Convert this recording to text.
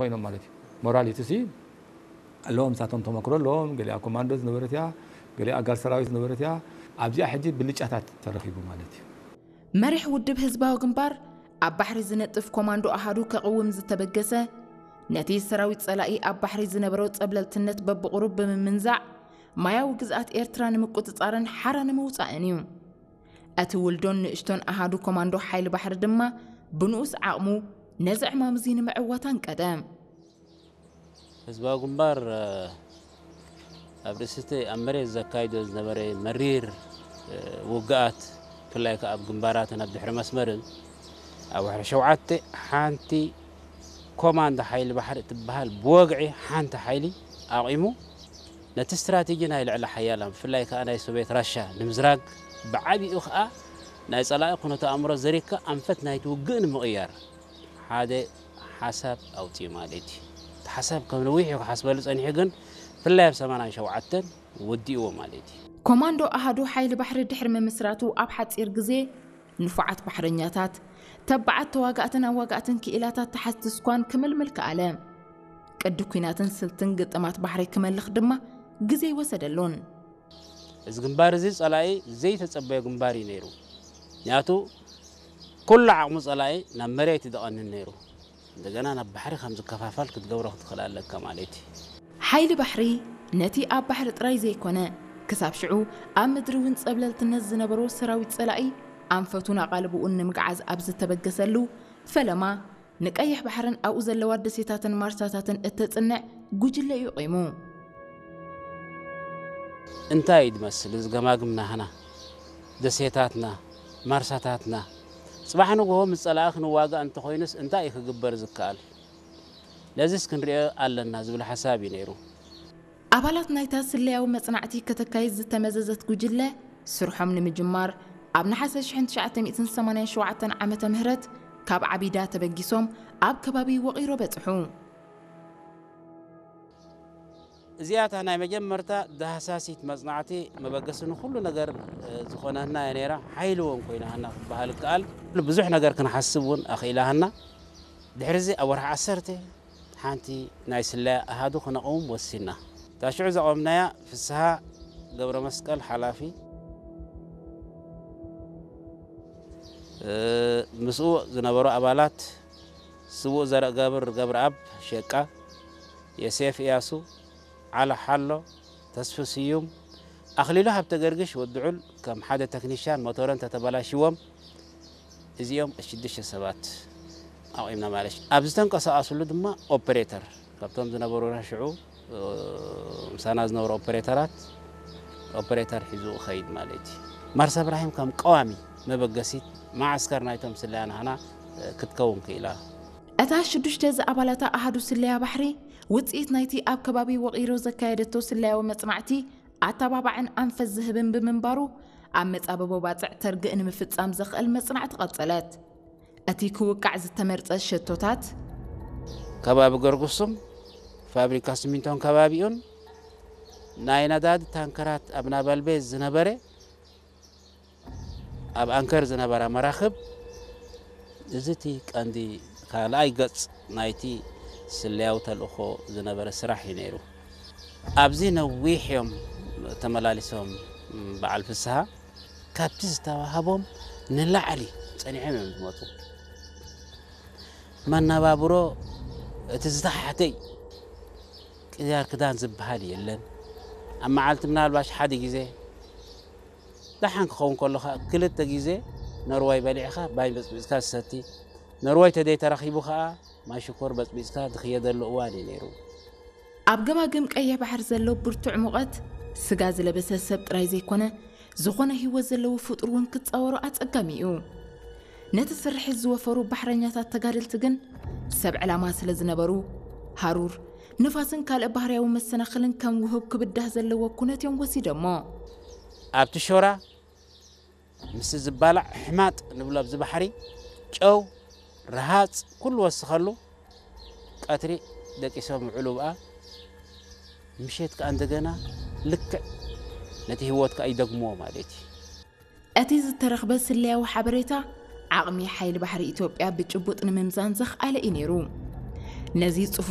ኮይኖም ማለት እዩ። ሞራሊቲ ሲ ኣለዎም፣ ንሳቶም ተመክሮ ኣለዎም። ገሊኣ ኮማንዶ ዝነበረት እያ፣ ገሊኣ ኣጋር ሰራዊት ዝነበረት እያ። ኣብዚኣ ሕጂ ብልጫታት ተረኺቡ ማለት እዩ። መሪሕ ውድብ ህዝባዊ ግንባር ኣብ ባሕሪ ዝነጥፍ ኮማንዶ ኣሃዱ ከቕውም ዝተበገሰ፣ ነቲ ሰራዊት ጸላኢ ኣብ ባሕሪ ዝነበሮ ጸብለልትነት በብቑሩብ ብምምንዛዕ፣ ማያዊ ግዝኣት ኤርትራ ንምቁጽጻርን ሓራ ንምውጻእን እዩ። እቲ ውልዶን ንእሽቶን ኣሃዱ ኮማንዶ ሓይሊ ባሕሪ ድማ ብንኡስ ዓቕሙ ነዚ ዕማም እዚ ንምዕዋት ኣንቀደ። ህዝባዊ ግንባር ኣብ ርእሲ እቲ ኣብ መሬት ዘካይዶ ዝነበረ መሪር ውግኣት፣ ብፍላይ ከኣ ኣብ ግንባራትን ኣብ ድሕሪ መስመርን፣ ኣብ ወርሒ ሸውዓተ ሓንቲ ኮማንዶ ሓይሊ ባሕሪ እትበሃል ብወግዒ ሓንቲ ሓይሊ ኣቒሙ፣ ነቲ ስትራቴጂ ናይ ልዕለ ሓያላን ብፍላይ ከኣ ናይ ሶቬት ራሻ ንምዝራግ፣ ብዓቢኡ ከኣ ናይ ጸላኢ ኩነተ ኣእምሮ ዘሪግካ ኣንፈት ናይቲ ውግእ ንምቕያር ሓደ ሓሳብ ኣውጺኡ ማለት እዩ። እቲ ሓሳብ ከም ነዊሕ እዩ ክሓስበሉ ጸኒሑ፣ ግን ብፍላይ ኣብ ሰማንያን ሸውዓተን ወዲእዎ ማለት እዩ። ኮማንዶ ኣሃዱ ሓይሊ ባሕሪ ድሕሪ ምምስራቱ ኣብ ሓጺር ግዜ ንፉዓት ባሕረኛታት፣ ተባዓት ተዋጋእትን ኣዋጋእትን ክኢላታት ተሓዝቲ ስኳን ክምልምል ከኣለ። ቅዲ ኲናትን ስልትን ግጥማት ባሕሪ ክመልኽ ድማ ግዜ ኣይወሰደሉን። እዚ ግንባር እዚ ጸላኢ ዘይተጸበዮ ግንባር እዩ ነይሩ። ምክንያቱ ኩሉ ዓቕሙ ጸላኢ ናብ መሬት እዩ ደቐንን ነይሩ። እንደገና ናብ ባሕሪ ከም ዝከፋፈል ክትገብሮ ክትኽእል ኣለካ ማለት እዩ። ሓይሊ ባሕሪ ነቲ ኣብ ባሕሪ ጥራይ ዘይኮነ፣ ክሳብ ሽዑ ኣብ ምድሪ እውን ጸብለልትነት ዝነበሮ ሰራዊት ጸላኢ ኣንፈቱን ኣቓልብኡን ንምግዓዝ ኣብ ዝተበገሰሉ፣ ፈለማ ንቀይሕ ባሕርን ኣብኡ ዘለዋ ደሴታትን ማርሳታትን እተጽንዕ ጉጅለ እዩ ቂሙ። እንታይ እዩ ዝመስል እዚ ገማግም ናህና፣ ደሴታትና፣ ማርሳታትና? ጽባሕ ንግሆ ምስ ጸላኢ ክንዋጋእ እንተኾይኑስ እንታይ እዩ ክግበር ዝከኣል? ነዚስ ክንሪኦ ኣለና ዝብል ሓሳብ እዩ ነይሩ። ኣባላት ናይታ ስለያዊ መጽናዕቲ ከተካይድ ዝተመዘዘት ጉጅለ፣ ስርሖም ንምጅማር ኣብ ነሓሰ ሽሕን ትሽዓተ ሚእትን ሰማንያን ሸውዓተን ዓመተ ምህረት ካብ ዓቢዳ ተበጊሶም ኣብ ከባቢ ወቒሮ በጽሑ። እዚኣታ ናይ መጀመርታ ዳህሳሲት መጽናዕቲ መበገሲ ንኹሉ ነገር ዝኾነና እያ ነይራ። ሓይሊ እውን ኮይናሃና ክበሃል ይከኣል። ብዙሕ ነገር ክንሓስብ እውን ኣኽኢላሃና። ድሕሪዚ ኣብ ወርሒ ዓሰርተ ሓንቲ ናይ ስለያ ኣሃዱ ክነቕውም ወሲና። እታ ሽዑ ዘቐምናያ ፍስሃ ገብረመስቀል ሓላፊ፣ ምስኡ ዝነበሩ ኣባላት ስዉእ ዘርእገብር ገብረኣብ ሸቃ፣ የሴፍ እያሱ፣ ዓላ ሓሎ፣ ተስፉ ስዩም፣ ኣኽሊሉ ሃብተገርግሽ ወዲ ዑል ከም ሓደ ተክኒሻን ሞተረን ተተበላሽዎም እዚኦም ሽዱሽተ ሰባት ኣቑምና ማለት እዩ። ኣብ ዝተንቀሳቐስሉ ድማ ኦፐሬተር ካብቶም ዝነበሩና ሽዑ ምሳና ዝነበሩ ኦፐሬተራት ኦፐሬተር ሒዙ ክኸይድ ማለት እዩ። ማርሳ እብራሂም ከም ቀዋሚ መበገሲት መዓስከር ናይቶም ስለያ ናህና ክትከውን ክኢላ። እታ ሽዱሽተ ዝኣባላታ ኣሃዱ ስለያ ባሕሪ ውፅኢት ናይቲ ኣብ ከባቢ ወቒሮ ዘካየደቶ ስለያዊ መፅናዕቲ ኣተባባዕን ኣንፈት ዝህብን ብምንባሩ ኣብ መፃብቦ ባፅዕ ተርግእ ንምፍፃም ዘኽእል መፅናዕቲ ቀፀለት። እቲ ክውቃዕ ዝተመርጸ ሸቶታት ከባቢ ገርጉሱም ፋብሪካ ስሚንቶን ከባቢኡን ናይ ነዳዲ ታንከራት ኣብ ናባልቤዝ ዝነበረ ኣብ ኣንከር ዝነበራ መራኽብ እዚ እቲ ቀንዲ ካልኣይ ገጽ ናይቲ ስለያዊ ተልእኾ ዝነበረ ስራሕ እዩ ነይሩ። ኣብዚ ነዊሕ እዮም ተመላሊሶም በዓል ፍስሃ። ካብቲ ዝተዋህቦም ንላዕሊ ጸኒሖም እዮም ዝመጹ። መነባብሮ እቲ ዝተሓተ እዩ። ቅያር ክዳን ዝበሃል የለን። ኣብ መዓልቲ ምናልባሽ ሓደ ግዜ ደሓን ክኸውን ከሎ ከዓ ክልተ ግዜ ነርዋይ በሊዕኻ ባይ በጽቢጽካ ዝሰቲ፣ ነርዋይ ተደይ ተረኺቡ ከዓ ማይ ሽኮር በጽቢጽካ ዝኽየደሉ እዋን እዩ ነይሩ። ኣብ ገማግም ቀይሕ ባሕሪ ዘሎ ብርቱዕ ሙቐት፣ ስጋ ዝለበሰ ሰብ ጥራይ ዘይኮነ፣ ዝኾነ ህይወት ዘለዎ ፍጡር እውን ክጻወሮ ኣጸጋሚ እዩ። ነቲ ስርሒት ዝወፈሩ ባሕረኛታት ተጋደልቲ ግን ሰብ ዕላማ ስለ ዝነበሩ፣ ሃሩር፣ ንፋስን ካልእ ባህርያዊ መሰናኽልን ከም ውሁብ ክብዳህ ዘለዎ ኩነት እዮም ወሲዶሞ። ኣብቲ ሾራ ምስ ዝባላዕ ሕማጥ ንብሎ ኣብዚ ባሕሪ ጨው፣ ረሃጽ ኩሉ ወስኸሉ ቀትሪ ደቂሶም ይውዕሉ ብኣ ምሸት ከኣ እንደገና ልክዕ ነቲ ህይወት ከኣ ይደግምዎ ማለት እዩ። እቲ ዝተረኽበ ስለያዊ ሓበሬታ ዓቕሚ ሓይሊ ባሕሪ ኢትዮጵያ ብጭቡጥ ንምምዛን ዘኽኣለ እዩ ነይሩ። ነዚ ጽፉፍ